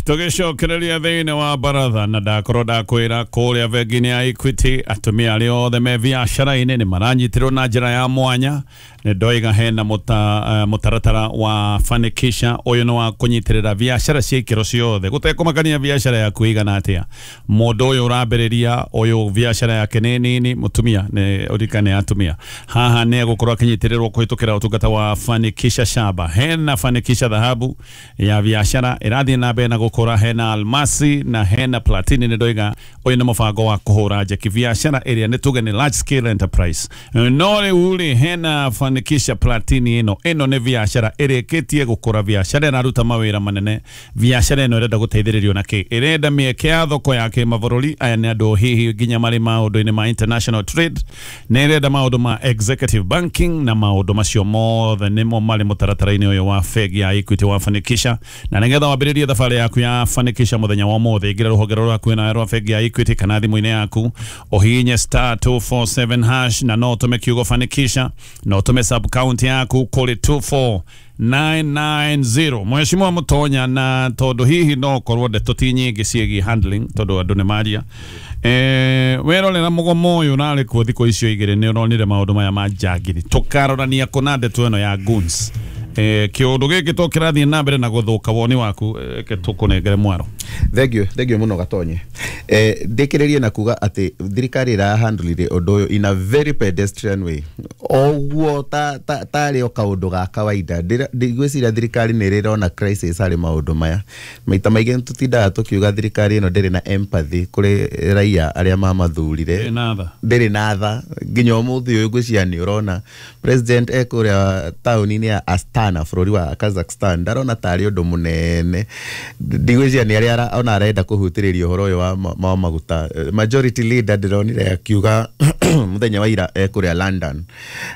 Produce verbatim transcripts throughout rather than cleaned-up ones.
Tũgĩcokereria thĩinĩ wa baratha na ndakorwo ndakwĩra kũrĩa bengi-inĩ ya Equity atumia arĩa othe me biacara-inĩ nĩ maranyitĩrwo na njĩra ya mwanya. Nĩ ndoiga hena mũta, uh, mũtaratara wa Fanikisha. Ũyũ nĩ wa kũnyitĩrĩra biacara cia ikĩro ciothe gũtekũmakania biacara yaku ĩigana atĩa. Mũndũ ũyũ ũrambĩrĩria ũyũ biacara yake nĩ nini, mũtumia nĩ ũririkane atumia haha nĩ egũkorwo akĩnyitĩrĩrwo kũhĩtũkĩra ũtungata wa Fanikisha Shaba. Hena Fanikisha dhahabu ya biacara ĩrathiĩ na mbere na gũkũra, hena almasi na hena platini. Nĩ ndoiga ũyũ nĩ mũbango wa kũhũra njeki biacara ĩrĩa nĩ tuge nĩ large scale enterprise. No rĩu rĩ, hena Fanikisha Platini. ĩno ĩno nĩ biacara ĩrĩkĩtie gũkũra, biacara ĩraruta mawĩra manene, biacara ĩno ĩrenda gũteithĩrĩrio na kĩ, ĩrenda mĩeke ya thoko ya kĩmabũrũri. Aya nĩ andũ hihi nginya marĩ maũndũ-inĩ ma international trade, nĩ ĩrenda maũndũ ma executive banking na maũndũ macio mothe nĩmo marĩ mũtaratara-inĩ ũyũ wa bengi ya Equity wa Fanikisha. Na nĩgetha wambĩrĩrie thabarĩ yaku ya Fanikisha mũthenya wa ũmũthĩ, ingĩra rũhonge rũrĩa hakuhĩ nawe rwa bengi ya Equity kana thimũ-inĩ yaku ũhihinye star two four seven hash na no ũtũme kiugo Fanikisha na ũtũme sub county yaku kũrĩ two four nine nine zero. Mheshimiwa Mutonya, na tondu hihi no korwo ndeto ti nyingĩ ciĩgiĩ handling tondu andũ nĩ maria, eh werorera mũgomo ũyũ ũrarĩ kuo thikũ icio igĩrĩ, nĩ ũronire maũndũ maya ma njangiri, tũkarorania kũna ndeto ĩno ya goons. Eh kĩũndũ gĩkĩ to kĩrathiĩ na mbere na gũthũka, woni waku reke tũkũnengere mwaro. Thank you, thank you mũno Gatonye. Eh ndĩkĩrĩrie na kuga atĩ thirikari ĩra handle ũndũ ũyũ in a very pedestrian way, oguo ta ta tarĩ o kaũndũ ga kawaida. Ndigwĩciria thirikari nĩ ĩrona crisis harĩ maũndũ maya. Maita maingĩ nĩtũtindaga tũkiuga thirikari ĩno ndĩrĩ na empathy kũrĩ raia arĩa mamathurire, Ndĩrĩ na tha. Ndĩrĩ na tha. Nginya ũmũthĩ ũyũ ngwĩciria nĩ ũrona president e kũrĩa taũni-inĩ ya Astana bũrũri wa Kazakhstan, ndarona tarĩ ũndũ mũnene. Ndigwĩciria nĩ arĩa ona arenda kũhutĩrĩria ũhoro ũyũ wa ma- wa maguta. Majority leader ndĩronire akiuga mũthenya wa ira e kũrĩa London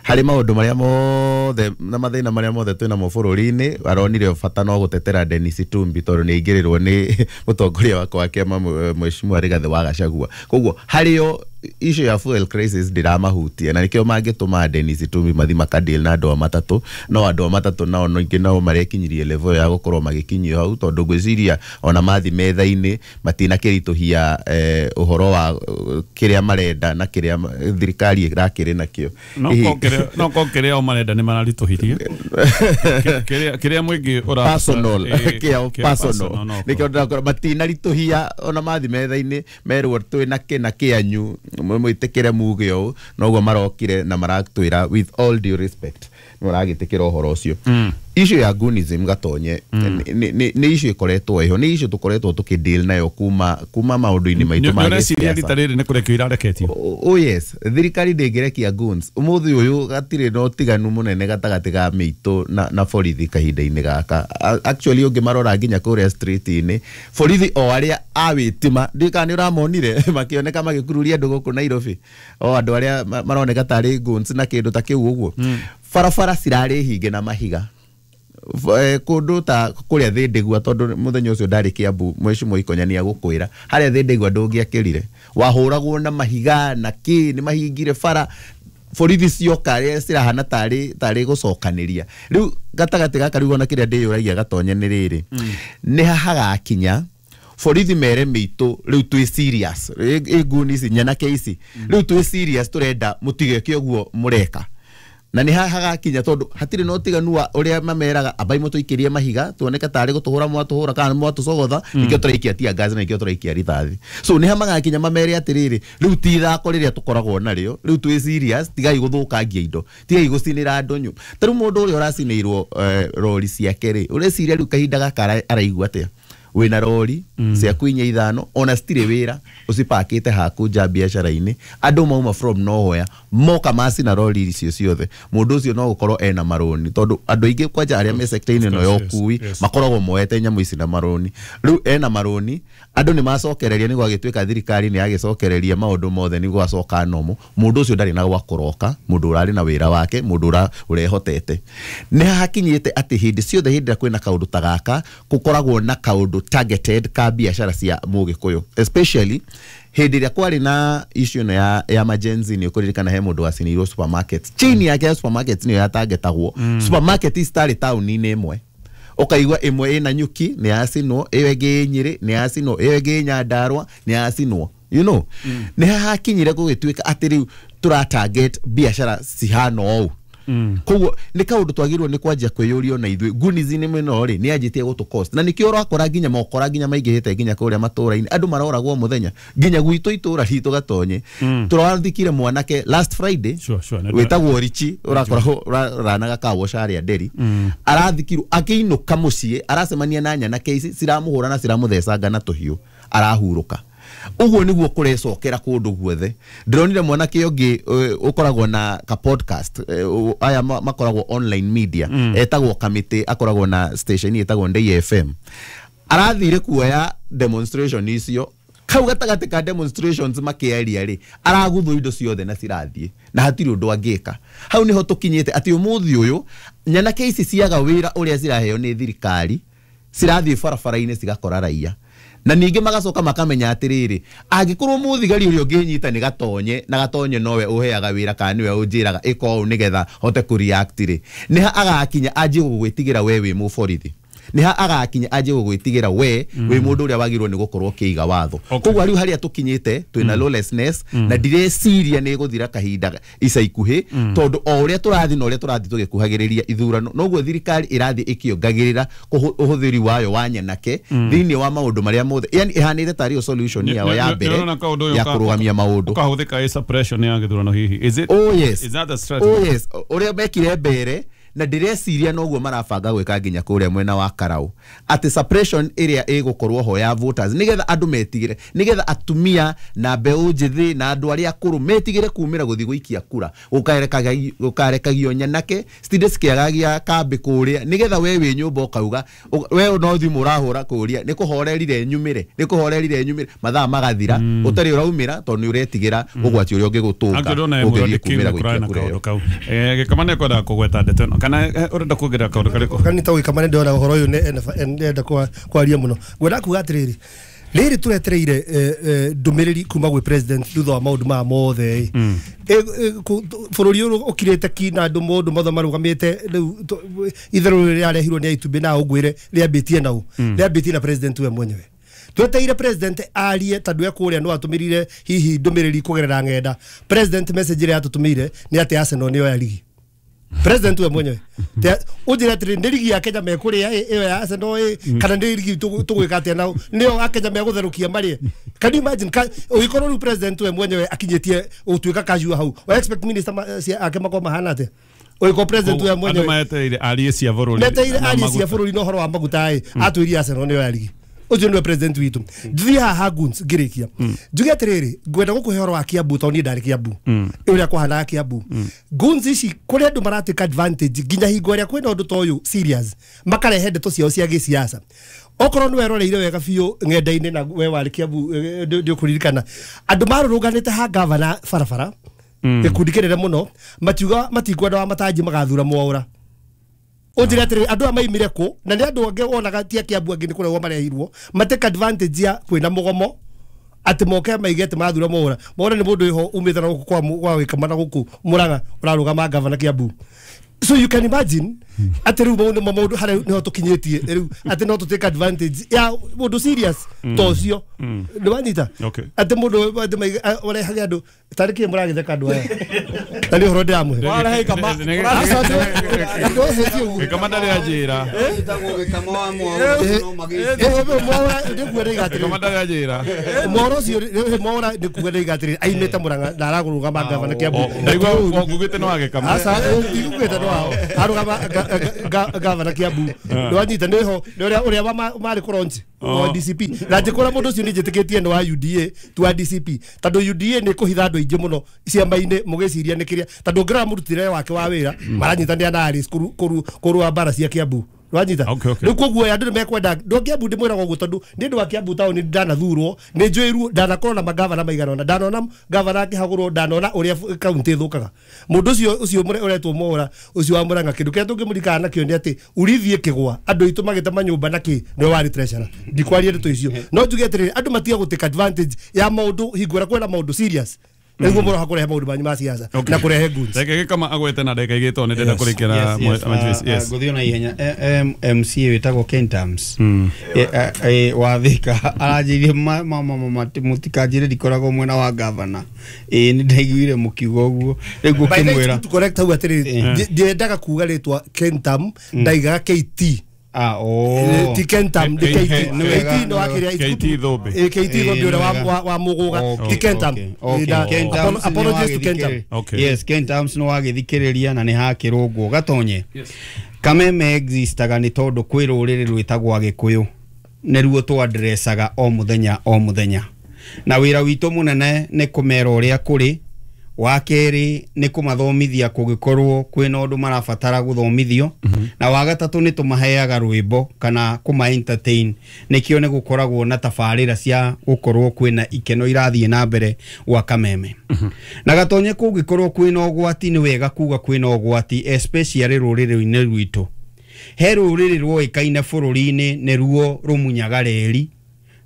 harĩ maũndũ marĩa mothe na mathĩna marĩa mothe twĩnamo bũrũri-inĩ, aronire bata no gũtetera Dennis Itumbi tondũ nĩ aingĩrĩrwo nĩ mũtongoria wakwa wa kĩama Mheshimiwa Rigathĩ wa Gachagua. Koguo harĩo issue ya fuel crisis ndĩramahutia, na nĩkĩo mangĩtũma Dennis Itumbi mathi makadeal na andũ a matatũ. No andũ a matatũ nao ningĩ nao marekinyirie level ya gũkorwo magĩkinyio hau, tondũ ngwĩciria ona mathi metha-inĩ matinakĩritũhia eh, ũhoro wa eh, kĩrĩa marenda na kĩrĩa ma- thirikari ĩrakĩrĩ nakĩo. No Hihi- ko kĩrĩa no ko kĩrĩa o marenda nĩ mararitũhirie. Kĩrĩa kĩrĩa mũingĩ ũra Personal. Eh, kĩao kĩa personal. No nĩkĩo ndĩrakora matinaritũhia ona mathi metha-inĩ merwo twĩ na kĩna kĩanyu mwĩtĩkĩre muge ũũ, noguo marokire na maratwĩra with all due respect nĩ maragĩtĩkĩra ũhoro ũcio. Issue ya goonism Gatonye nĩ- nĩ nĩ issue ĩkoretwo ĩho, nĩ issue tũkoretwo tũkĩdeal nayo kuma kuma maũndũ-inĩ maitũ ma Nĩ ũreciria gĩsiasa. Rita rĩrĩ nĩ kũrekio irareketio? Oh oh yes, thirikari ndĩngĩrekia goons. Ũmũthĩ ũyũ gatirĩ na ũtiganu mũnene gatagatĩ ga mĩitũ na, na borithi kahinda-inĩ gaka. A- Actually ũngĩmarora nginya kũrĩa street-inĩ, borithi o arĩa a wĩtima, ndiũĩ kana nĩ ũramonire makĩoneka magĩkururia andũ gũkũ Nairobi, o andũ arĩa ma- maroneka tarĩ goons na kĩndũ ta kĩu ũguo. Barabara cirarĩ hinge na mahiga. F- eh, kũndũ ta kũrĩa Thĩndĩgua, tondũ mũthenya ũcio ndarĩ Kiambu, Mheshimiwa Ikonya nĩ agũkwĩra harĩa Thĩndĩgua ndũngĩakĩrire, wahũragwo na mahiga na kĩ, nĩ mahingire bara, borithi cioka rĩa cirahana tarĩ tarĩ gũcokanĩria. Rĩu gatagatĩ gaka rĩu ona kĩrĩa ndĩyũragia Gatonye nĩ rĩrĩ, nĩ ha hagakinya borithi mere mĩitũ rĩu twĩ serious, ĩ ĩ nguni ici nyanake ici rĩu twĩ serious, tũrenda mũtigeke ũguo mũreka? Na nĩ haha hagakinya tondũ hatirĩ na ũtiganu wa ũrĩa mameraga ambai mũtũikĩrie mahiga tuoneke tarĩ gũtũhũra mwatũhũra kana mwatũcogotha, nĩkĩo tũraikia tear gas na nĩkĩo tũraikia rithathi. So nĩ ha magakinya mamere atĩrĩrĩ, rĩu ti ithako rĩrĩa tũkoragwo narĩo, rĩu twĩ serious, tigai gũthũkangia indo, tigai gũcinĩra andũ nyũ. Ta rĩu mũndũ ũrĩa ũracinĩirwo eh, rori ciake rĩ, ũreciria rĩu kahinda gaka ara- araigua atĩa? Wĩna rori ciaku inya ithano ona citirĩ wĩra, ũcipakĩte haku nja biacara-inĩ, andũ mauma from nowhere moka macina rori icio ciothe. Mũndũ ũcio no gũkorwo ena marũni, tondũ andũ aingĩ kwanja arĩa me sector-inĩ ĩno ya Of course, ũkui yes, yes. makoragwo moete nyamũ ici na marũni. Rĩu ena marũni, andũ nĩ macokereria, nĩ gwagĩtuĩka thirikari nĩ yagĩcokereria maũndũ mothe nĩ gwacoka nomo. Mũndũ ũcio ndarĩ na gwa kũroka, mũndũ ũrarĩ na wĩra wake, mũndũ ũra- ũrehotete. Nĩ hakinyĩte atĩ hĩndĩ ciothe hĩndĩ ĩrĩa kwĩna kaũndũ ta gaka, gũkoragwo na kaũndũ targeted ka biacara cia mũgĩkũyũ, especially hĩndĩ ĩrĩa kwarĩ na issue ĩno ya, ya majenzi. Nĩ ũkũririkana he mũndũ wacinĩirwo supermarket, chain yake ya supermarket nĩyo yatargetagwo mm. Supermarket citarĩ taũni-inĩ ĩmwe. Ũkaigua ĩmwe ĩna Nyuki nĩ yacinwo, ĩyo ĩngĩ ĩ Nyĩrĩ nĩ yacinwo, ĩyo ĩngĩ ĩ Nyandarũa nĩ yacinwo. You know, mm. nĩ hakinyire gũgĩtuĩka atĩ rĩu tũra target biacara cihana ũũ. Mm. Koguo nĩ kaũndũ twagĩrĩirwo nĩ kwanjia kwĩyũria na ithuĩ gunizi nĩ mũno rĩ nĩ yanjĩtie gũtũ cost, na nĩkĩo ũrakora nginya mokora nginya maingĩhĩte nginya kũrĩa matũũra-inĩ andũ maroragwo mũthenya nginya gwitũ itũũra ritũ Gatonye. mm. Tũrathikire mwanake last Friday. Sure, sure, wĩtagwo Richi, ũrakoragwo ũranaga kawoca arĩa Nderi. mm. Arathikirwo akĩinũka mũciĩ, aracemania na nyanake ici ciramũhũra na ciramũthecanga na tũhiũ, arahurũka. Ũguo nĩguo kũrecokera kũndũ guothe. Ndĩronire mwanake ũngĩ ũkoragwo na ka podcast, aya makoragwo online media, mm. etagwo Kamĩtĩ, akoragwo na station ĩtagwo Ndei F M. Arathire kuoya demonstration icio, kau gatagatĩ ka demonstrations makĩaria rĩ, araguthwo indo ciothe na cirathiĩ na hatirĩ ũndũ angĩka. Hau nĩho tũkinyĩte atĩ ũmũthĩ ũyũ nyanake ici ciaga wĩra ũrĩa ciraheo nĩ thirikari, cirathiĩ barabara-inĩ cigakora raia. Na ningĩ magacoka makamenya atĩrĩrĩ, angĩkorwo mũthigari ũrĩa ũngĩnyita nĩ Gatonye, na Gatonye nowe ũheaga wĩra kana nĩwe ũnjĩraga ĩka ũũ nĩgetha hote kũ react rĩ, nĩha agakinya anjie gũgwĩtigĩra we wĩ mũborithi, nĩha agakinya anjie gũgwĩtigĩra we wĩ mũndũ ũrĩa wagĩrĩirwo nĩ gũkorwo ũkĩiga watho. Koguo rĩu harĩa tũkinyĩte twĩna lawlessness, na ndireciria nĩ ĩgũthira kahinda ica ikuhĩ, tondũ o ũrĩa tũrathiĩ na ũrĩa tũrathiĩ tũgĩkuhagĩrĩria ithurano, noguo thirikari ĩrathiĩ ĩkĩongagĩrĩra ũhũthĩri wayo wa nyanake thĩinĩ wa maũndũ marĩa mothe, yani ĩhanĩte tarĩ solution yao ya mbere ya kũrũgamia maũndũ. Ũkahũthĩka suppression ya gĩthurano hihi. Is it? Oh yes. Is that a strategy? Oh yes. Ũrĩa mekire mbere na ndireciria noguo marabanga gwĩka nginya kũrĩa mwena wa Karau, atĩ suppression ĩrĩa ĩgũkorwo ho ya voters nĩgetha andũ metigĩre, nĩgetha atumia na mbeũ njĩthĩ na andũ arĩa akũrũ metigĩre kumĩra gũthiĩ gũikia kura, gũkarekagio nyanake citinde cikĩagagia kambĩ kũrĩa, nĩgetha we wĩ nyũmba ũkauga we no thimũ ũrahũra kũrĩa nĩ kũhorerire nyumĩre, nĩ kũhorerire nyumĩre, mathaa magathira ũtarĩ ũraumĩra tondũ nĩ ũretigĩra ũgwati ũrĩa ũngĩgũtũnga ũngĩthiĩ kumĩra gũikia kura ĩyo. Gĩkama nĩ kwenda kũgweta ndeto ĩno kana ũrenda kuongerera kaũndũ karĩkũ? Kanita gwĩkama nĩ ndĩrona ũhoro ũyũ nĩ enda kwaria mũno. Ngwenda kuga atĩrĩrĩ, rĩrĩ tũretereire ndũmĩrĩri kuma gwĩ president thutha wa maũndũ maya mothe. Bũrũri ũyũ ũkirĩte ki na andũ maũndũ mothe marũgamĩte rĩu itherũ rĩrĩ rĩarehirwo nĩ itumbĩ na ũngwĩre rĩambĩtie nau, rĩambĩtie na president we mwenyewe. Tweteire president arie tondũ ekũrĩa no atũmĩrire hihi ndũmĩrĩri kũgerera ng'enda. President message ĩrĩa atũtũmĩire nĩ atĩ Arsenal nĩyo ya ligi. President we mwenyewe unjire atĩrĩ nĩ ligi ya Kenya mekũrĩa ĩyo ya Arsenal ĩ kana nĩ ligi tũgwĩka atĩa nao nĩyo a Kenya megũtherũkia marĩe. Can you imagine ũgĩkorwo rĩu president we mwenyewe akinyĩtie gũtuĩka casual hau, wa expect minister ake makorwo mahana atĩa? Ũgĩkorwo president we mwenyewe andũ metereire arie cia bũrũri, metereire arie cia bũrũri na ũhoro wa maguta ĩ atwĩrie Arsenal nĩyo ya ligi. Ũcio nĩwe president witũ. Thiĩ haha goons ngĩrĩkia njuge atĩrĩrĩ, ngwenda gũkũhe ũhoro wa Kiambu tondũ niĩ ndarĩ Kiambu, ũrĩa kwahanaga Kiambu. Goons ici kũrĩ andũ maratake advantage nginya hingo ĩrĩa kwĩna ũndũ ta ũyũ serious, makarehe ndeto ciao cia gĩsiasa. Okorwo nĩ weroreire wega biũ ng'enda-inĩ na we warĩ Kiambu ndĩũkũririkana, andũ marũrũnganĩte ha gavana barabara, gĩkundi kĩnene mũno, matiuga matikwenda wa matanji magathura Mwaũra. Unjire atĩrĩrĩ, andũ aya maimire kũ na nĩ andũ angĩ wonaga ti a Kiambu angĩ nĩ kũrehwo marehirwo matake advantage ya kwĩna mũgomo atĩ moke maige atĩ mathura Mwaũra. Mwaũra nĩ mũndũ wĩho umĩte na gũkũ kwa kwa Wĩkama na gũkũ Mũrang'a ũrarũgama gavana Kiambu. So you can imagine atĩ rĩu maũndũ maũndũ harĩa nĩho tũkinyĩtie rĩu atĩ no tũ take advantage ya mũndũ serious ta ũcio. Nĩ wanyita atĩ mũndũ atĩ ũrehage andũ tarĩ kĩ mũragĩtheka andũ aya na nĩ ũhoro ndĩramũhe. Gĩkama ndarĩ anjĩra. Gĩkama ndarĩ anjĩra. Mwaũra ũcio Mwaũra nĩ kuga ndĩiga atĩrĩrĩ aimĩte Mũrang'a na ararũgama gavana Kiambu. Ndaigua ngugĩte nĩ wa Gĩkama. Aca ndigugĩte nĩ wao, arũgama gavana Kiambu. Nĩ wanyita nĩho nĩ ũrĩa ũrĩa marĩ kũronji wa D C P. Na njĩkũra mũndũ ũcio nĩ njĩtĩkĩtie nĩ wa U D A ti wa D C P, tondũ U D A nĩ kũhitha andũ aingĩ mũno ciama-inĩ mũgĩciria nĩ kĩrĩa, tondũ ũngĩrora mũrutĩre wake wa wĩra maranyitanĩra na Alice kũrũa mbara cia Kiambu. Wanyita rĩu koguo andũ nĩ mekwenda ndũ Kiambu ndĩmwĩraga ũguo tondũ nĩ ndũ wa Kiambu taũni ndanathurwo nĩ njũĩrwo ndanakorwo na magavana maigana ũna, ndanona gavana akĩhagũrwo, ndanona ũrĩa kaunti ĩthũkaga. Mũndũ ũcio ũcio ũretwo Mwaũra ũcio wa Mũrang'a kĩndũ kĩrĩa tũngĩmũririkana nakĩo nĩ atĩ urithi ĩkĩgwa andũ aitũ magĩtema nyũmba na kĩ nĩwe warĩ treasurer. Ndikwaria ndeto icio no njuge atĩrĩrĩ, andũ matige gũtake advantage ya maũndũ hingo ĩrĩa kwĩna maũndũ serious. Nĩguo mũroha kũrehe maũndũ manyu ma siasa na kũrehe goods. Reke gĩkama agwete na ndagĩka igĩrĩ tondũ nĩ ndĩrenda kũrĩkĩra Yes, ngũthiĩ na ihenya. M C wĩtagwo Ken Tams wa Thika aranjĩire mũtikanjĩre ndikoragwo mwena wa gavana. Ĩĩ nĩ ndaiguire mũkiuga ũguo rĩu ngũkĩmwĩra to correct hau atĩrĩrĩ, ndiendaga kuga rĩtwa Kentam, ndaigaga K T. Ah, oh. Ti Kentam, ni K T. K T no akiria K T Thumbi. K T Thumbi ũrĩa wa wa Mũgũga. Ti Kentam. Apologies to Kentam. Yes, Kentam no wagĩthikĩrĩria na nĩ hakĩrũngwo gatonye. Kameme existaga nĩ tondũ kwĩ rũrĩrĩ rwĩtagwo Agĩkũyũ nĩruo twadressaga o mũthenya o mũthenya, na wĩra witũ mũnene nĩ kũmera ũrĩa kũrĩ. Wa kerĩ nĩ kũmathomithia kũngĩkorwo kwĩna ũndũ marabatara gũthomithio, na wa gatatũ nĩ tũmaheaga rwĩmbo kana kũma entertain, nĩkĩo nĩ gũkoragwo na tabarĩra cia gũkorwo kwĩna ikeno irathiĩ na mbere gwa Kameme. Na gatonye kũngĩkorwo kwĩna ũgwati nĩ wega kuga kwĩna ũgwati, especially rũrĩrĩ-inĩ rwitũ. He rũrĩrĩ rwoĩkaine bũrũri-inĩ nĩruo rũmunyaga reri,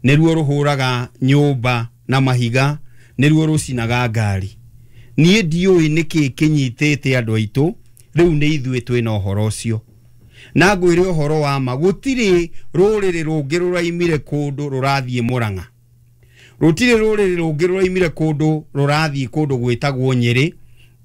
nĩruo rũhũraga nyũmba na mahiga, nĩruo rũcinaga ngari. Niĩ ndiũĩ nĩkĩ kĩnyitĩte andũ aitũ rĩu nĩ ithuĩ twĩna ũhoro ũcio. Na ngwĩre ũhoro wa ma, gũtirĩ rũrĩrĩ rũngĩ rũraimire kũndũ rũrathiĩ Mũrang'a, rũtirĩ rũrĩrĩ rũngĩ rũraimire kũndũ rũrathiĩ kũndũ gwĩtagwo Nyĩrĩ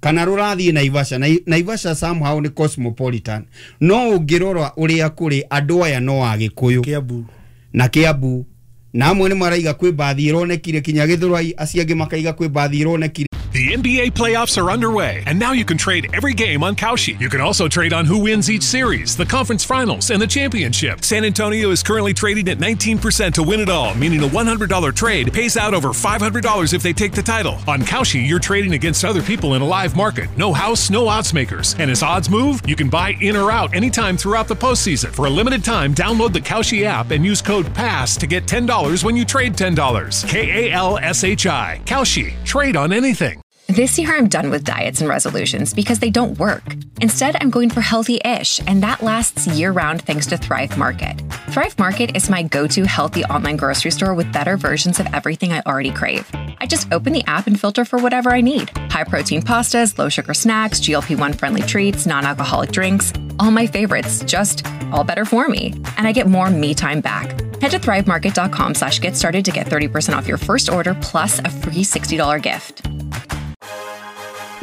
kana rũrathiĩ Naivasha. Naivasha somehow nĩ cosmopolitan, no ũngĩrora ũrĩa kũrĩ andũ aya no Agĩkũyũ Kiambu na Kiambu, na amwe nĩ maraiga kwĩ mbathi ĩronekire kinya Gĩthũrai, acio angĩ makaiga kwĩ mbathi ĩronekire. The N B A playoffs are underway, and now you can trade every game on Kalshi. You can also trade on who wins each series, the conference finals, and the championship. San Antonio is currently trading at nineteen percent to win it all, meaning a one hundred dollar trade pays out over five hundred dollars if they take the title. On Kalshi, you're trading against other people in a live market. No house, no odds makers. And as odds move, you can buy in or out anytime throughout the postseason. For a limited time, download the Kalshi app and use code PASS to get ten dollars when you trade ten dollars. K A L S H I. Kalshi. Trade on anything. This year, I'm done with diets and resolutions because they don't work. Instead, I'm going for healthy-ish, and that lasts year-round thanks to Thrive Market. Thrive Market is my go-to healthy online grocery store with better versions of everything I already crave. I just open the app and filter for whatever I need. High-protein pastas, low-sugar snacks, G L P one friendly treats, non-alcoholic drinks, all my favorites, just all better for me. And I get more me time back. Head to thrivemarket.com slash get started to get thirty percent off your first order plus a free sixty dollar gift.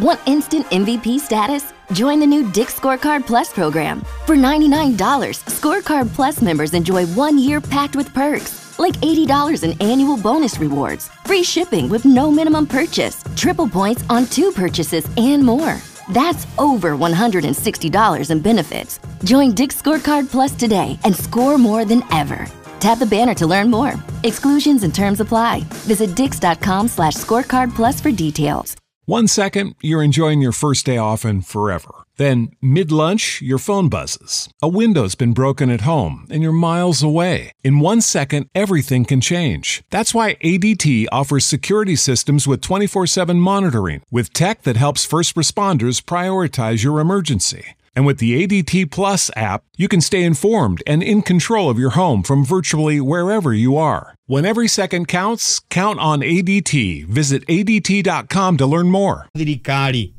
Want instant M V P status? Join the new Dick's Scorecard Plus program. For ninety-nine dollars, Scorecard Plus members enjoy one year packed with perks, like eighty dollars in annual bonus rewards, free shipping with no minimum purchase, triple points on two purchases, and more. That's over one hundred sixty dollars in benefits. Join Dick's Scorecard Plus today and score more than ever. Tap the banner to learn more. Exclusions and terms apply. Visit dicks.com slash scorecard plus for details. One second, you're enjoying your first day off and forever. Then, mid-lunch, your phone buzzes. A window's been broken at home, and you're miles away. In one second, everything can change. That's why A D T offers security systems with twenty-four seven monitoring, with tech that helps first responders prioritize your emergency. And with the A D T Plus app, you can stay informed and in control of your home from virtually wherever you are. When every second counts, count on A D T. Visit A D T dot com to learn more. Thirikari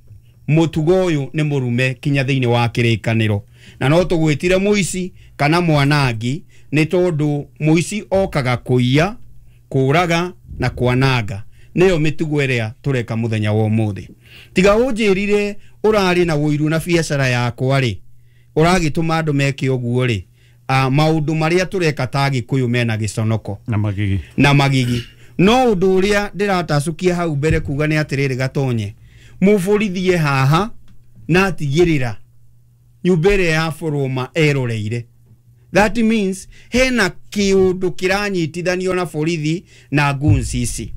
mutugo uyu ni murume kinya thiini wa kirikaniro na no tugwitire muici kana mwanangi ni tondu muici okaga kuiya kuraga na kwananga niyo mitugo iria tureka muthenya wa umuthi. Tiga unjirire urari na wuiru na biacara yakwa ri uragituma andu meke uguo ri maundu maria tureka ta Gikuyu mena giconoko na magigi na magigi no undu uria ndiratacukia hau mbere kuga ni atiriri gatonye muburithie haha na atigirira nyumba ĩrĩa ya boroma eroreire. That means hena kiundu kiranyitithanio na borithi na goons ici.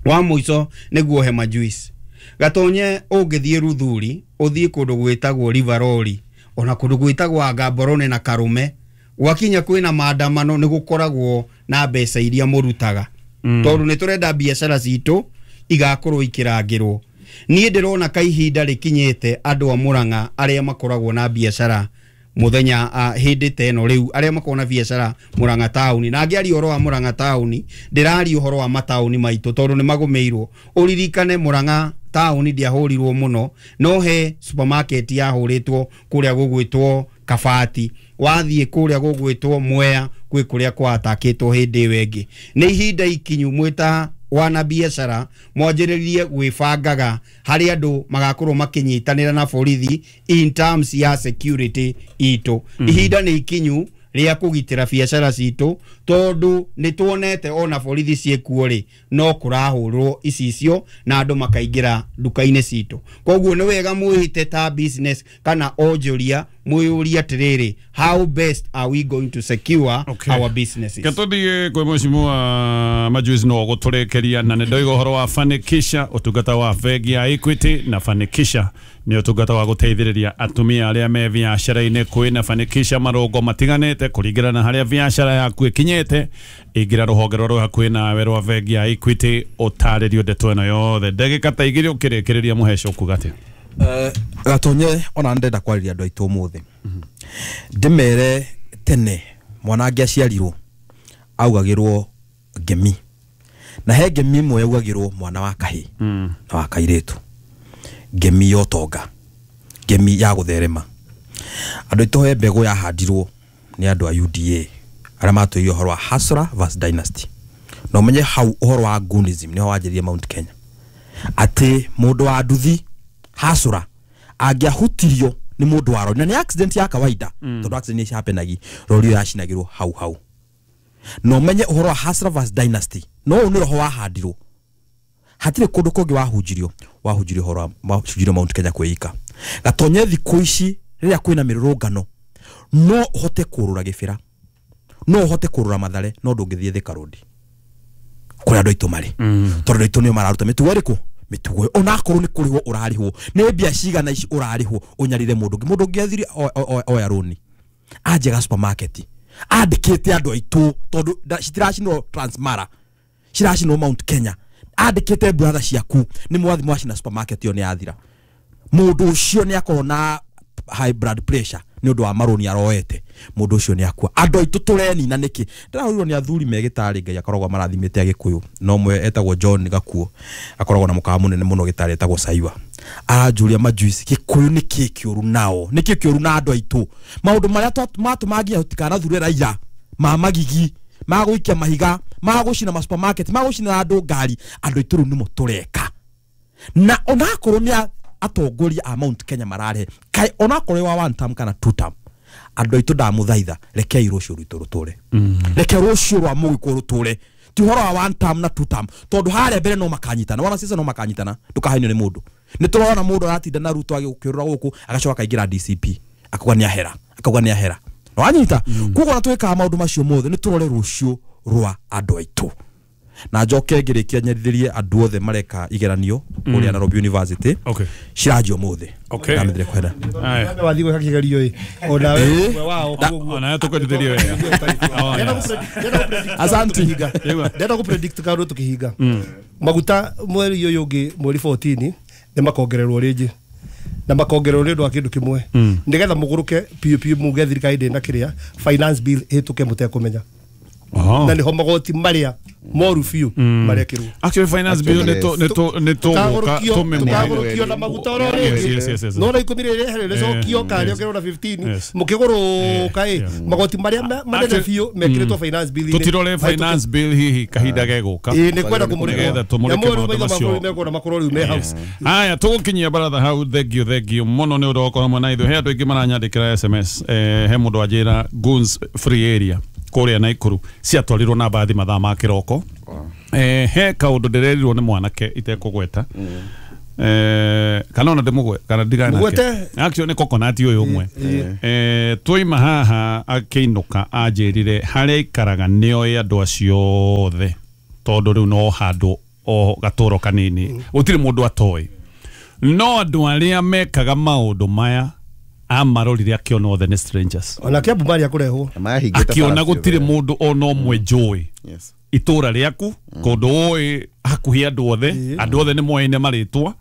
Wa mũico nĩguo he majuice gatonye ũngĩthiĩ Ruthuri ũthiĩ kũndũ gwĩtagwo Rivaroli ona kũndũ gwĩtagwo Angamborone na Karume gwakinya kwĩna maandamano nĩ gũkoragwo na mbeca iria mũrutaga mm. Tondũ nĩ tũrenda biacara citũ igakorwo ikĩrangĩrwo. Niĩ ndĩrona kaihinda rĩkinyĩte andũ a Murang'a arĩa makoragwo na biacara Muthenya uh, hindi teno riu aria makona biacara Murang'a tauni na ngiaria uhoro wa Murang'a tauni ndiraria uhoro wa matauni maitu tondu ni magumiirwo. Uririkane Murang'a tauni ndiahurirwo muno, no he supermarket yahuritwo kuria gugwitwo Kabati, wathie kuria gugwitwo Mwea kwi kuria kwatakitwo hindi iyo ingi. Ni ihinda ikinyu mwita wana biacara mwanjĩrĩrie gwĩbangaga harĩ andũ magakorwo makinyitanĩra na borithi in terms ya security itũ. Mm. Ihinda nĩ ikinyu rĩa kũgitĩra biacara citũ tondu nĩ tuonete ona borithi ciĩkuo rĩ no kũrahũrwo icicio na andũ makaingĩra nduka-inĩ citũ. Koguo nĩ wega mwĩhite ta business kana onjoria mwĩyũrie atĩrĩrĩ, how best are we going to secure okay. our businesses. Gatuthie kwĩ mheshimiwa Majuice no gũtũrĩkĩria na nĩ ndoiga ũhoro wa Fanikisha, ũtungata wa bengi ya Equity, na Fanikisha nĩ ũtungata wa gũteithĩrĩria atumia arĩa me biacara-inĩ. Kwĩna Fanikisha marũngo matiganĩte kũringana na harĩa biacara yaku ĩkinyĩte. Ingĩra rũhonge rũrĩa rwĩ hakuhĩ nawe rwa bengi ya Equity ũtarĩrio ndeto ĩno yothe. Ndagĩka ta igĩrĩ ũkĩrĩkĩrĩria Mũheco ũkuga atĩa? Gatonye ona ndenda kwariria andu aitu umuthi ndimere tene mwana angiaciarirwo augagirwo ngemi, na he ngemi imwe yaugagirwo mwana wa kahii na wa kairitu, ngemi ya utonga, ngemi ya gutherema. Andu aitu he mbegu yahandirwo ni andu a U D A aria matwĩrire ũhoro wa Hustler versus Dynasty, na ũmenye hau ũhoro wa Gunism niho wanjĩrĩirie Mount Kenya, atĩ mũndũ wa nduthi Hustler angĩahutirio nĩ mũndũ wa rori, na nĩ accident ya kawaida mm. tondu accident nĩ happenagi, rori ĩyo yacinagĩrwo hau hau. Na ũmenye ũhoro wa Hustler versus Dynasty, no ũyũ nĩ roho wahandirwo, hatirĩ kũndũ kũngĩ wahunjirio, wahunjirio ũhoro wahunjirio Mount Kenya kwĩika. Gatonye thikũ ici rĩrĩa kwĩna mĩrũrũngano no ũhote kũrũra Gĩbĩra, no ũhote kũrũra Mathare, no ndũngĩthiĩ Thika Road kũrĩa andũ aitũ marĩ, tondũ andũ aitũ nĩo mararuta mĩtugo ĩrĩkũ? Mĩtugo onakorwo nĩ kũrĩhwo ũrarĩhwo nĩ mbia cigana ici ũrarĩhwo ũnyarire mũndũ ũngĩ. Mũndũ ũngĩ athire oya rũni anjega supermarket andĩkĩte andũ aitũ tondũ citiracinwo Transmara, ciracinwo Mount Kenya, andĩkĩte brother ciaku nĩ mwathi mwacina supermarket ĩyo nĩ yathira. Mũndũ ũcio nĩ akorwo na high blood pressure nĩ ũndũ wa marũni aroete, mũndũ ũcio nĩ akua. Andũ aitũ tũrenina nĩkĩ? Ndĩrahũrirwo nĩ athuri me gĩtarĩ, Ngai akoragwo marathimĩte Agĩkũyũ, no ũmwe etagwo John Gakuo akoragwo na mũkawa mũnene mũno gĩtarĩ etagwo Saiwa, aranjũria Majuice, Gĩkũyũ nĩ kĩ kĩũru nao, nĩ kĩ kĩũru na andũ aitũ? Maũndũ marĩa matũmagia tũtikanathure raia ma magigi, ma gũikia mahiga, ma gũcina ma supermarket, ma gũcina andũ ngari, andũ aitũ rĩu nĩmo tũreka. Na onakorwo nĩ atongoria a Mount Kenya mararehe kai onakorwo wa one term kana two term, andũ aitũ ndamũthaitha, rekei rũciũ rwitũ rũtũre, reke rũciũ rwa mũgĩkũyũ rũtũre, ti ũhoro wa one term na two term, tondũ harĩa mbere no makanyitana, wana siasa no makanyitana, ndũkahenio nĩ mũndũ. Nĩ tũrona mũndũ aratinda na Ruto agĩũkĩrũra gũkũ agacoka akaingĩra D C P akauga nĩ ahera, akauga nĩ ahera, no wanyita. Koguo ona twĩkaga maũndũ macio mothe nĩ tũrore rũciũ rwa andũ aitũ. Na njoke ngĩrĩkia nyendithĩrie andũ othe mareka igeranio kũrĩa Nairobi University ciranjio mũthĩ. Ndamĩthire kwenda wathiĩ gwĩka kĩgerio ĩ ona we ũmwe wao koguo ona tũkwendithĩrie wega. Asante. Ndenda gũ predict kaũndũ tũkĩhinga maguta mweri ũyũ ũngĩ mweri fourteen nĩ makongererwo rĩngĩ, na makongererwo nĩ ũndũ wa kĩndũ kĩmwe, nĩgetha mũgũrũke piũ piũ muge thirikari ndĩna kĩrĩa finance bill ĩhĩtũke mũtekũmenya. Na niho magoti maria moru biũ marekirwo. Actually finance bill nĩ tũ nĩ tũ nĩ tũgũka tũgũrũkio na maguta oro rĩngĩ no na ikũmi rĩrĩ rĩcokio kana rĩongererwo na fifteen mũkĩgũrũka ĩ magoti maria manene biũ mekĩrĩtwo finance bill. Tũtirore finance bill hihi kahinda gegũka ĩ nĩ kwenda kũmũrĩka tũmũrĩke maũndũ macio mekuona makorwo rĩu me hau. Haya tũgũkinyia baratha hau. Thank you thank you mũno nĩ ũndũ wa gũkorwo hamwe na ithuĩ. He andũ aingĩ maranyandĩkĩra S M S, he mũndũ anjĩra Goons free area kũrĩa Naikuru ciatwarirwo na mbathi mathaa ma kĩroko. Eh he kaũndũ ndĩrerirwo nĩ mwanake itekũgweta, eh kana ona ndĩmũgwe kana ndigane nake, actually nĩ coconut ũyũ ũmwe. Eh twoima haha akĩinũka anjĩrire harĩa aikaraga nĩoĩ andũ acio othe, tondũ rĩu no handũ o gatũro kanini gũtirĩ mũndũ atoĩ, no andũ arĩa mekaga maũndũ maya amarorire akiona othe nĩ strangers. Ona Kiambu maria kũrehwo akiona gũtirĩ mũndũ ona ũmwe njũĩ itũra rĩaku kũndũ ũĩ hakuhĩ andũ othe, andũ othe nĩ moaine marĩtwa,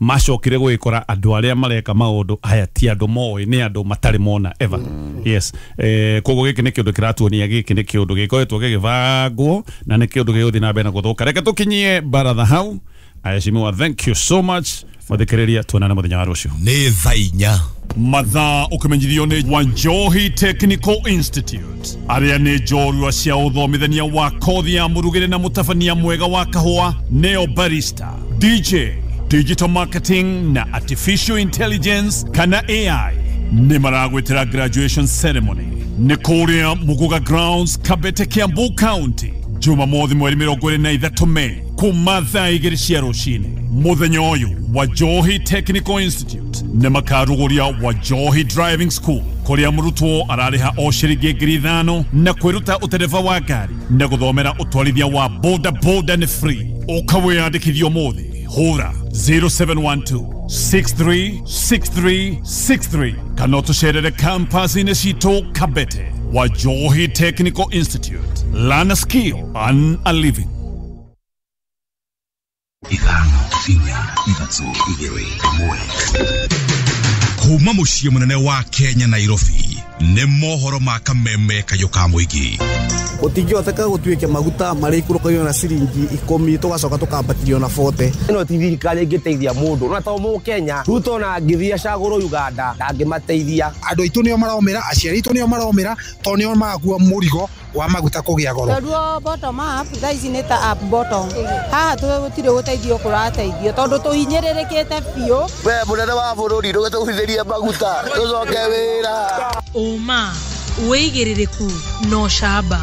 Macokire gwikora andũ arĩa mareka maũndũ aya ti andũ moĩ, nĩ andũ matarĩ mona ever. Yes, eh koguo gĩkĩ nĩ kĩũndũ kĩratuonia, gĩkĩ nĩ kĩũndũ gĩkoretwo gĩgĩbangwo na nĩ kĩũndũ gĩgũthiĩ na mbere na gũthũka. Reke tũkinyie baratha hau. Aheshimiwa, thank you so much. Mathikĩrĩria, tuonane mũthenya wa rũciũ. Nĩ thaa inya. Mathaa ũkĩmenyithio nĩ Wanjohi Technical Institute, arĩa nĩ njorua cia ũthomithania wa kothi ya mũrugĩre na mũtabania mwega wa kahũa, neo barista, D J, digital marketing na artificial intelligence kana A I. Nĩ maragwĩtĩra graduation ceremony nĩ kũrĩa Muguga Grounds, Kabete, Kiambu County, Jumamothi mweri mĩrongo ĩrĩ na ithatũ Mei kuma thaa igĩrĩ cia rũcinĩ. Mũthenya ũyũ Wajohi Technical Institute nĩ makarugũria Wajohi Driving School, kũrĩa mũrutwo ararĩha o ciringi ngiri ithano na kwĩruta ũtereba wa ngari na gũthomera ũtwarithia wa boda boda nĩ free. Ũka wĩyandĩkithie ũmũthĩ, hũra zero seven one two six three six three six three kana ũtũcerere campus-inĩ citũ Kabete. Wajohi Technical Institute, learn a skill, earn a living. Ithano, inya, ithatũ, igĩrĩ, ĩmwe. Kuma mũciĩ mũnene wa Kenya, Nairobi, nĩ mohoro ma Kameme kayũ ka mũingĩ. Gũtingĩhoteka gũtuĩke maguta marĩikũrũkagio na ciringi ikũmi, tũgacoka tũkambatĩrio na bote. Ĩno ti thirikari ĩngĩteithia mũndũ na to mũkenya. Ruto ona angĩthiĩ acagũrwo Uganda, ndangĩmateithia. Andũ aitũ nĩo maromĩra, aciari aitũ nĩo maromĩra, tondũ nĩo marakua mũrigo wa maguta kũgĩa goro. Tondũ bottom up thaa ici nĩ ta up bottom, haha gũtirĩ gũteithio kũrateithio tondũ tũhinyĩrĩrĩkĩte biũ. We mũnene wa bũrũri, ndũgĩtũgũithĩrie maguta tũcoke wĩra. Ũma, wĩigĩrĩrĩku na ũcamba.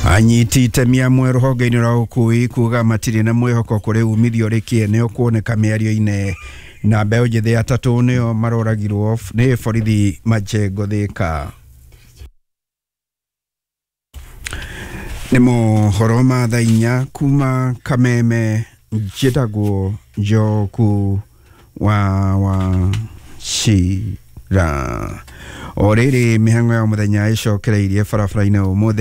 Anyiti itemi amwe rũhonge-inĩ rwa ũkui kuga matirĩ na mwĩhoko kũrĩ umithio ũrĩ kĩene ũkuoneka mĩario-inĩ, na mbeũ njĩthĩ atatũ nĩo maroragirwo nĩ borithi Majengo, Thĩka. Nĩ mohoro ma thaa inya kuma Kameme. Njĩtagwo Njoku wa wa Cira. O rĩrĩ, mĩhang'o ya mũthenya ĩcokereirie barabara-inĩ ũmũthĩ.